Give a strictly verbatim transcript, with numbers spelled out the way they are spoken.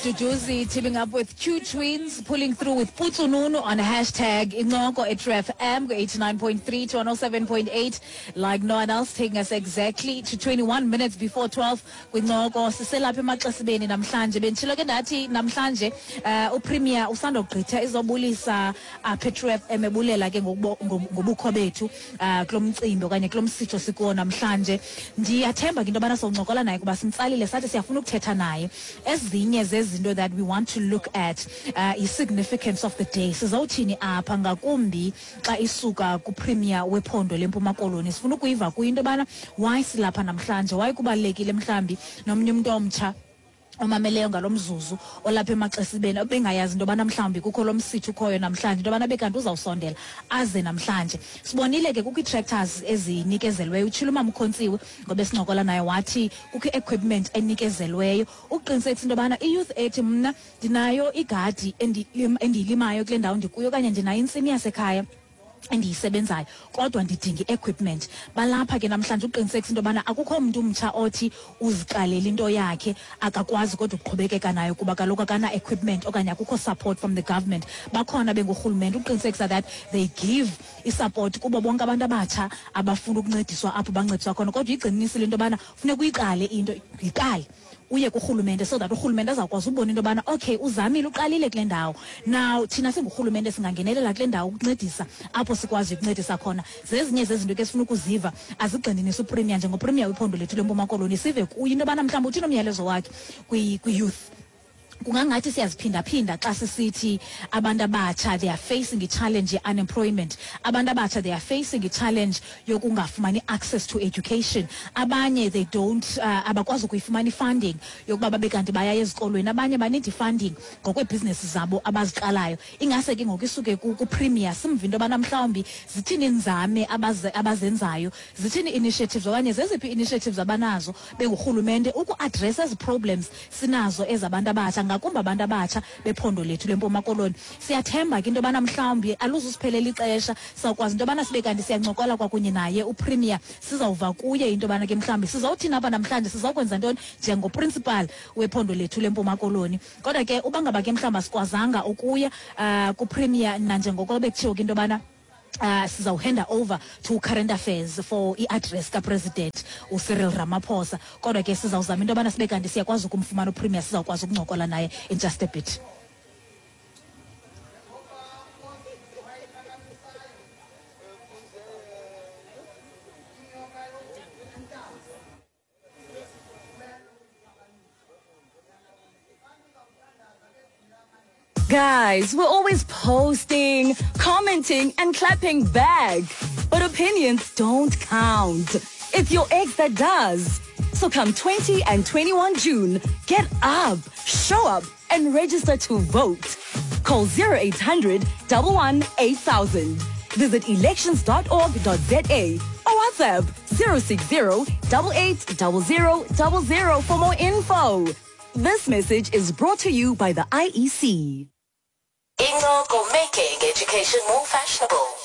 Duduzi teaming up with Q Twins, pulling through with Putsununu on hashtag Incoko at True F M, eighty-nine point three to one oh seven point eight, like no one else, taking us exactly to twenty-one minutes before twelve. Kwincoko siselapha emaxesibeni namhlanje. Benditshilo ke ndathi namhlanje uh, uPremier usandogqitha izobulisa apha True F M ebulela ke ngobukho bethu uh, kulo mcimbi okanye kulo msitho sikuwo namhlanje. Ndiyathemba ke into yobana soncokola naye kuba simtsalile sathi siyafuna ukuthetha naye. Ezinye zezinto that we want to look at uh, i-significance of the day. Sizawuthini apha ngakumbi xa isuka kuPremier wephondo leMpuma Koloni. Sifuna ukuyiva kuyo into yobana why silapha namhlanje, why kubalulekile mhlambi nomnye umntu omtsha omameleyo ngalo mzuzu olapha emaxesibeni obengayazi into yobana mhlawumbi kukho lo msitho ukhoyo namhlanje, into yobana bekanti uzawusondela aze namhlanje. Sibonile ke kukho ii-tractors ezinikezelweyo. Utshilo umama uKhontsiwe ngoba esincokola naye wathi kukho i-equipment enikezelweyo ukuqinisekisa into yobana i-youth ethi mna ndinayo igadi endiyilimayo kule ndawo ndikuyo okanye ndinayo intsimi yasekhaya endiyisebenzayo kodwa ndidinga i-equipment. Balapha ke namhlanje uqinisekisa into yobana akukho mntu umtsha othi uziqalela into yakhe akakwazi kodwa ukuqhubekeka nayo kuba kaloku akana-equipment okanye akukho support from the government. Bakhona bengurhulumente uqinisekisa that they give i-support kubo bonke abantu abatsha abafuna ukuncediswa apho bancediswa khona, kodwa igcininisile into yobana funeka uyiqale into, yiqale uye kurhulumente so that urhulumente azawukwazi ubona into yobana okay uzamile uqalile kule ndawo. Now thina singurhulumente singangenelela kule ndawo ukuncedisa apho sikwazi ukuncedisa khona. Zezinye zezinto ke sifuna ukuziva azigxininisa uPremier njengoPremier wephondo lethu leMpuma Koloni, sive kuyo into yobana mhlawumbi uthini umyalezo wakhe kwi-youth. Kungangathi siyaziphindaphinda xa sisithi abantu abatsha they are facing i-challenge ye-unemployment, abantu abatsha they are facing i-challenge yokungafumani access to education, abanye they don't uh, abakwazi ukuyifumana i-funding yokuba babe kanti baya ezikolweni, abanye banid i-funding ngokweebhizinesi zabo abaziqalayo. Ingase ke ngoku isuke kuPremier simve into yobana mhlawumbi zithini iinzame abazenzayo, zithini initiatives okanye zeziphi initiatives abanazo bengurhulumente uku-address ezi problems sinazo ezabantu abatsha, ngakumbi abantu abatsha bephondo lethu leMpuma Koloni. Siyathemba ke into yobana mhlawumbi aluzusiphelela ixesha, sizawukwazi into yobana sibe kanti siyancokola kwakunye naye uPremier, sizawuva kuye into yobana ke mhlawumbi sizawuthini apha namhlanje, sizawukwenza ntoni njengoprincipal wephondo lethu leMpuma Koloni. Kodwa ke uba ngaba ke mhlawumbi asikwazanga ukuya uh, kuPremier nanjengoko bekutshiwo ke into yobana Uh, sizawuhanda over to current affairs for i-address kaPresident uCyril Ramaphosa, kodwa ke sizawuzama into yobana sibe kanti siyakwazi ukumfumana uPremier, sizawukwazi ukuncokola naye in just a bit. Guys, we're always posting, commenting, and clapping back. But opinions don't count. It's your ex that does. So come twenty and twenty-one June, get up, show up, and register to vote. Call zero eight hundred, one one eight thousand. Visit elections dot org dot z a or WhatsApp zero six zero, eight eight zero zero zero zero for more info. This message is brought to you by the I E C. Incoko, making education more fashionable.